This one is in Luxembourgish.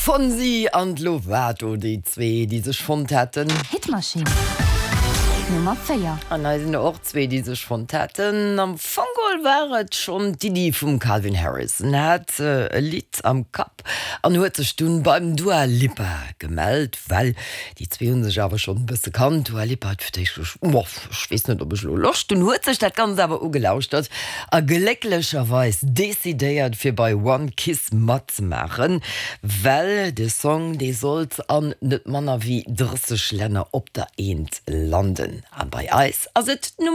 Fonsi an d'Lovato, déi zwee, déi sech fonnt haten. Hitmaschinn Nummer 4. An hei sinn der och zwee, déi sech fonnt haten. Am Fong geholl war et schonn d'Iddi vum Calvin Harris. En hat e Lidd am Kapp an huet sech dunn beim Dua Lipa gemellt, well déi zwee hu sech awer schonn e bësse kannt. D'Dua Lipa huet fir d'éischt gesot, Moh, ech weess net, ob ech elo Loscht hunn. Huet sech dat Ganzt awer ugelauschtert a glécklecherweis decidéiert, fir bei One Kiss matzemaachen. Well de Song, dee sollt an net manner wéi 30 Länner op der Eent landen. A bei eis ass et d'Nummer.